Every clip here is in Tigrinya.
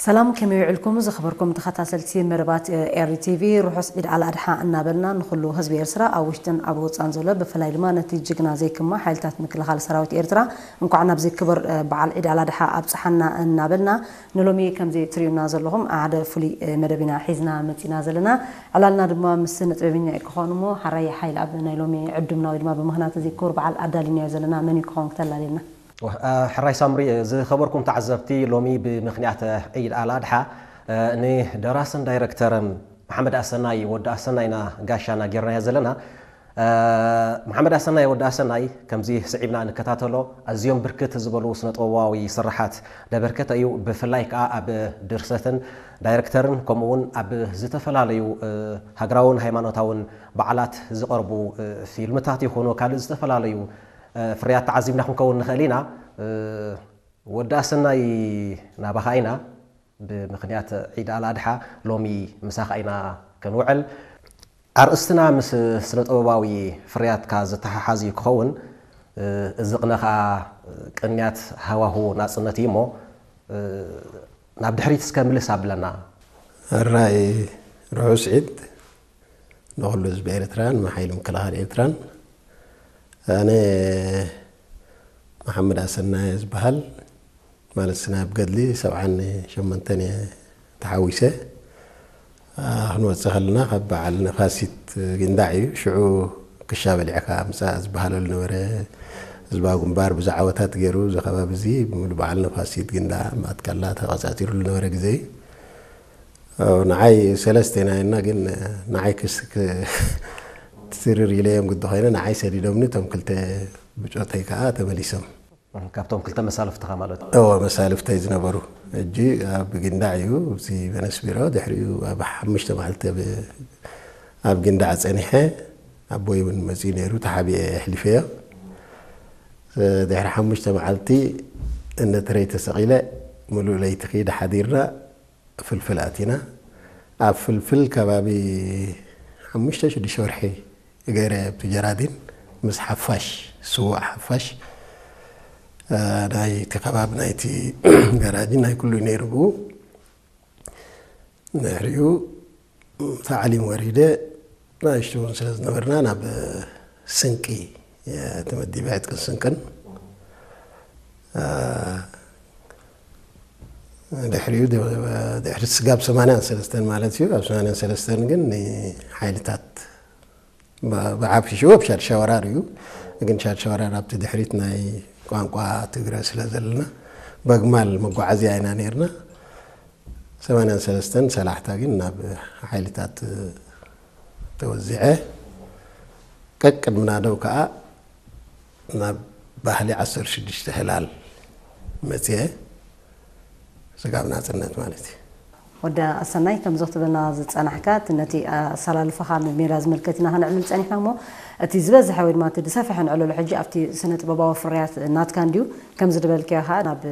ሰላም፣ ከመይ ውዕልኩም ዝኸበርኩም ተኸታተልቲ መደባት ኤሪ ቲቪ? ርሑስ ዒድ ኣል ኣድሓ እናበልና ንኹሉ ህዝቢ ኤርትራ ኣብ ውሽጥን ኣብ ወጻን ዘሎ፣ ብፍላይ ድማ ነቲ ጅግና ዘይክማ ሓይልታት ምክልኻል ሰራዊት ኤርትራ እንኳዕ ናብዚ ክቡር በዓል ዒድ ኣል ኣድሓ ኣብጽሓና እናበልና፣ ንሎሚ ከምዚ ትርእዩና ዘለኹም ሓደ ፍሉይ መደብ ኢና ሒዝና መጺና ዘለና። ዕላልና ድማ ምስ ስነ ጥበበኛ እዩ ክኸውን እሞ፣ ሓራይ ሓይል ኣብ ናይ ሎሚ ዕዱምና ወይ ድማ ብምኽንያት እዚ ክቡር በዓል ኣዳሊናዮ ዘለና መን እዩ ክኸውን ክተላልየልና? ሕራይ ሳምሪ፣ ዝኸበርኩም ተዓዘብቲ፣ ሎሚ ብምኽንያት ዒድ ኣል ኣድሓ ንደራስን ዳይረክተርን መሓመድ ኣሰናይ፣ ወዲ ኣሰናይና፣ ጋሻና ጌርናዮ ዘለና። መሓመድ ኣሰናይ፣ ወዲ ኣሰናይ፣ ከምዚ ስዒብና ንከታተሎ፣ ኣዝዮም ብርክት ዝበሉ ስነ ጥበባዊ ስራሓት ለበርከተ እዩ። ብፍላይ ከኣ ኣብ ድርሰትን ዳይረክተርን፣ ከምኡ እውን ኣብ ዝተፈላለዩ ሃገራውን ሃይማኖታውን በዓላት ዝቐርቡ ፊልምታት ይኹኑ ካልእ ዝተፈላለዩ ፍርያት ተዓዚብና ክንከውን ንኽእል ኢና። ወዲ ኣሰናይ፣ ናባኻ ኢና። ብምኽንያት ዒድ ኣል ኣድሓ ሎሚ ምሳኻ ኢና ክንውዕል። ኣርእስትና ምስ ስነ ጥበባዊ ፍርያትካ ዝተሓሓዝ እዩ ክኸውን። እዚ ቅነ ኸኣ ቅንያት ሃዋሁ ናጽነት እዩ እሞ፣ ናብ ድሕሪት እስከ ምልስ ኣብለና። ሕራይ ርሑስ ዒድ ንኹሉ ህዝቢ ኤርትራን ንሓይሊ ምክልኻል ኤርትራን። ኣነ መሓመድ ኣሰናየ ዝበሃል፣ ማለት ስናይ ኣብ ገድሊ ሰብዓን ሸሞንተን እየ ተሓዊሰ። ክንወፅእ ከለና ካብ በዓል ነፋሲት ጊንዳዕ እዩ። ሽዑ ክሻ በሊዕካ ምፃእ ዝበሃለሉ ነበረ። ህዝባዊ ግንባር ብዙሕ ዓወታት ገይሩ፣ እዚ ከባቢ እዚ ብምሉ በዓል ነፋሲት ጊንዳዕ ማትካላ ተቐፃፂሩሉ ነበረ ግዜ እዩ። ንዓይ ሰለስተ ኢና ኢልና፣ ግን ንዓይ ክስ ትርር ኢለ እዮም ግዲ ኮይነ፣ ንዓይ ሰዲዶምኒ፣ እቶም ክልተ ብፆተይ ከዓ ተመሊሶም። ካብቶም ክልተ መሳልፍትኻ ማለት እዩ? እዎ፣ መሳልፍተይ ዝነበሩ። ሕጂ ኣብ ጊንዳዕ እዩ፣ እዚ ቨነስ ቢሮ፣ ድሕሪኡ ኣብ ሓሙሽተ መዓልቲ ኣብ ጊንዳዕ ፀኒሐ፣ ኣቦይ እውን መፂኡ ነይሩ፣ ተሓቢኤ ኣሕሊፈዮ። ድሕሪ ሓሙሽተ መዓልቲ እነትረይ ተሰቒለ፣ ሙሉእ ለይቲ ኺድ ሓዲርና፣ ፍልፍል ኣቲና። ኣብ ፍልፍል ከባቢ ሓሙሽተ ሽዱሽተ ወርሒ ገይረ ኣብቲ ጀራዲን ምስ ሓፋሽ፣ ስዉእ ሓፋሽ፣ ናይቲ ከባቢ ናይቲ ገራዲን ናይ ኩሉ ነይሩ ብኡ። ድሕሪኡ ታዕሊም ወሪደ፣ ንእሽቱ እውን ስለ ዝነበርና ናብ ስንቂ ተመዲበ፣ ዕጥቅን ስንቅን። ድሕሪኡ ድሕሪ ስጋብ ሰማንያን ሰለስተን ማለት እዩ። ኣብ ሰማንያን ሰለስተን ግን ንሓይልታት ብዓብሽሽኡ ኣብ ሻድሻ ወራር እዩ። ግን ሻድሻ ወራር ኣብቲ ድሕሪት ናይ ቋንቋ ትግረ ስለ ዘለና በግማል መጓዓዝያ ኢና ነርና። ሰማንያን ሰለስተን ሰላሕታ ግን ናብ ሓይልታት ተወዚዐ። ቀቅድሚ ናደው ከዓ ናብ ባህሊ ዓሰርተ ሽዱሽተ ህላል መፅየ። ስጋብ ናፅነት ማለት እዩ። ወዲ ኣሰናይ፣ ከምዚ ክትብልና ዝፀናሕካ፣ እቲ ነቲ ኣሰላልፋኻ ንሜዳ ዝምልከት ኢና ከነዕልል ፀኒሕና እሞ፣ እቲ ዝበዝሐ ወይ ድማ እቲ ዝሰፍሐ ንዕለሉ ሕጂ ኣብቲ ስነ ጥበባዊ ፍርያት ናትካ እንድዩ። ከምዚ ዝበልካዮ ከዓ ናብ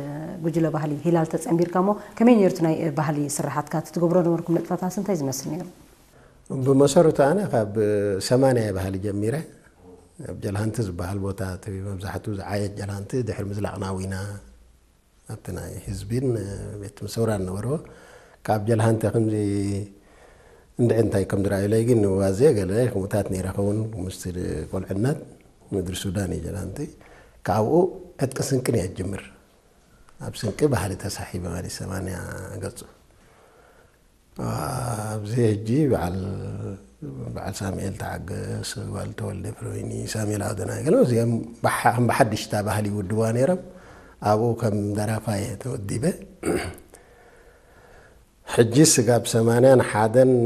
ጉጅለ ባህሊ ሂላል ተፀንቢርካ እሞ፣ ከመይ ነይሩ እቲ ናይ ባህሊ ስራሓትካ? እቲ ትገብሮ ነበርኩም ንጥፈታትስ እንታይ ዝመስል ነይሩ? ብመሰረቱ ኣነ ካብ ሰማንያ እየ ባህሊ ጀሚረ። ኣብ ጀልሃንቲ ዝበሃል ቦታ እቲ መብዛሕትኡ ዝዓየት ጀልሃንቲ ድሕሪ ምዝላቕ ናዊና ኣብቲ ናይ ህዝቢን ቤት ሰውራን ነበርዎ። ካብ ጀልሃንቲ ከምዚ እንድዒ እንታይ ከም ዝረኣዩለይ ግን ዋዜ ገለ ከምኡታት ነይረ ኸውን ምስቲ ቆልዕነት ምድሪ ሱዳን እዩ ጀልሃንቲ። ካብኡ ዕጥቂ ስንቅን እየ ጅምር። ኣብ ስንቂ ባህሊ ተሳሒበ ማለት ሰማንያ ገጹ። ኣብዚ ሕጂ በዓል በዓል ሳሙኤል ተዓገስ፣ ጓል ተወልደ ፍረወይኒ፣ ሳሙኤል ኣውደናይ፣ ገለ እዚኦም ብሓ-፣ ከም ብሓድሽ እታ ባህሊ ይውድዋ ነይሮም። ኣብኡ ከም ደራፋይ ተወዲበ። ሕጂ ስጋብ ሰማንያን ሓደን